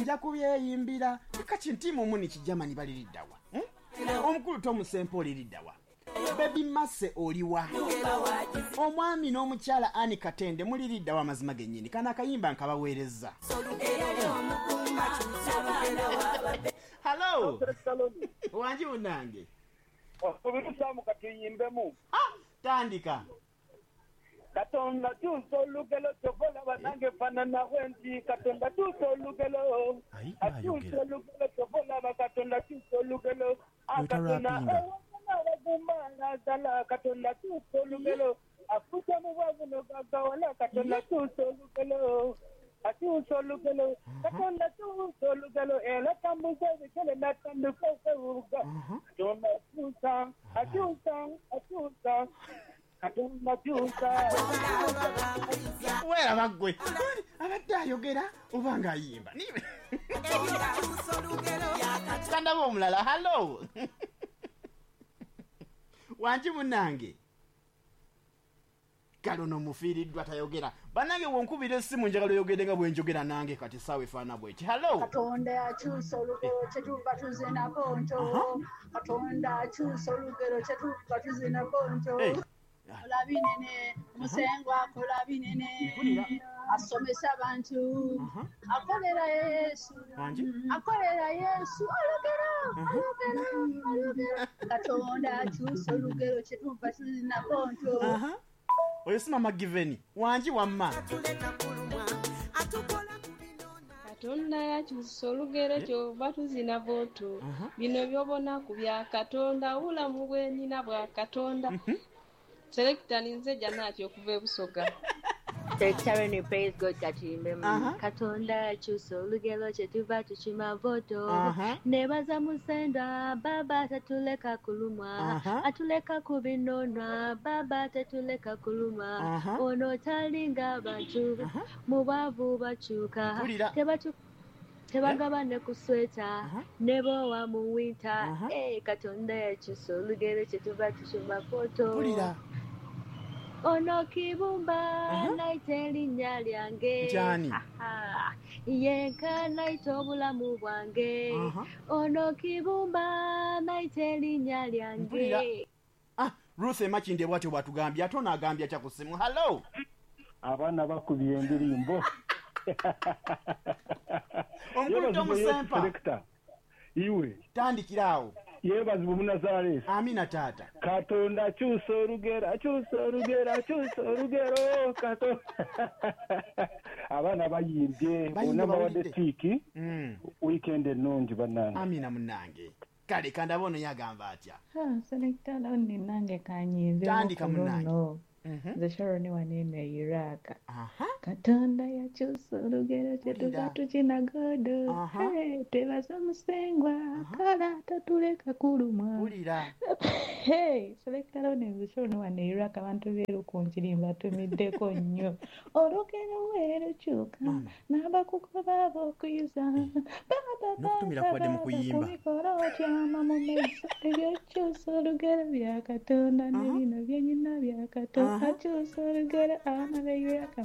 Nja kubyeyimbira. Kati ntiimu muni kijamani baliriddawa? Omukulu Tomusempa oliriddawa? Bebi Mase oliwa? Omwami n'omukyala Ani Katende muliriddawa? Amazima gennyini kano akayimba nkabaweereza. Hallo, wangi munange. Obirusamu katuyimbemu. Tandika. Katonda kyusa olugero kyova olaba nange fanana bwenti. Katonda kyusa olugero, akyusa olugero kyova olaba. Katonda kyusa olugero, Katonda ewangana abagumba nazala. Katonda kyusa olugero, afuusa mu bwavu nogagawala. Katonda kyusa olugero, akyusa olugero. Katonda kyusa olugero, era tambuza ebigere natandika okwewuga. Katonda akyusa, akyusa, akyusa. Katonda kyusa. Weeraba ggwe abadde ayogera oba ng'ayimba. Kandaba omulala. Hallo, wangi munange. Kale ono mufiiriddwa, tayogera. Bannange, wonkubira essimu njagala oyogedde nga bwenjogera nange. Kati essaawa efaanana bweti. Hallo. Katonda akyusa olugero kyetuva tuzina bonto. Katonda akyusa olugero kyetuva tuzina bonto. Kola binene, Musengwa akola binene. Asomesa abantu, akolera Yesu. Akolera Yesu olugero, olugero, olugero. Katonda akyusa olugero kyetuva tuzina bonto. Oyo si mama Giveni? Wangi wamma. Katonda yakyusa olugero kyova tuzina voto. Bino byobonaku bya Katonda, obulamu bwenina bwa Katonda. Selector, ninze Janati okuva e Busoga. Selector, praise God, katuyimbemu. Katonda akyusa olugero kyetuva tukima voto. Nebaza Musenda baba tatuleka kulumwa. Atuleka kubinonwa baba tatuleka kulumwa. Ono talinga abantu, mu bwavu bakyuka. Tebagabane kusweta nebowa mu winter. Katonda yakyusa olugero kyetuva tukima voto. Ono Kibumba naita erinnya lyange. Yenka naita obulamu bwange. Ono Kibumba naita erinnya lyange. Ruth Emakinde bwatyo bwatugambye. Ate ono agambye atya ku ssimu? Hallo. Abaana bakubye endirimbo. Omukulu Tomusempa. Iwe. Tandikira awo. Yeebazibwe Omunazaresi. Amina taata. Katonda akyusa olugero, akyusa olugero, akyusa olugero. Katonda. Abaana bayimbye, bonna bawadde tiiki. Weekend ennungi bannange. Amina munnange. Kale kandaba ono yagamba atya. Selector Loni, nange kanyimbe. Tandika munnange. Nze Sharon wanene Iraq. Katonda yakyusa olugero kyetuva tukina godo. Twebaza Musengwa kala tatuleka kulumwa. Selector Loni, nze Sharon wane Iraq. Abantu beerukunjiri mbatumiddeko nnyo. Olugero weerukyuka n'abakugoba ab'okuyuza. N'okutumira kubadde mu kuyimba. Kumikolo otyama mu maiso. Ebyokyusa olugero bya Katonda ne bino byenyina bya Katonda. Akyusa olugero abaana b'e Iraq.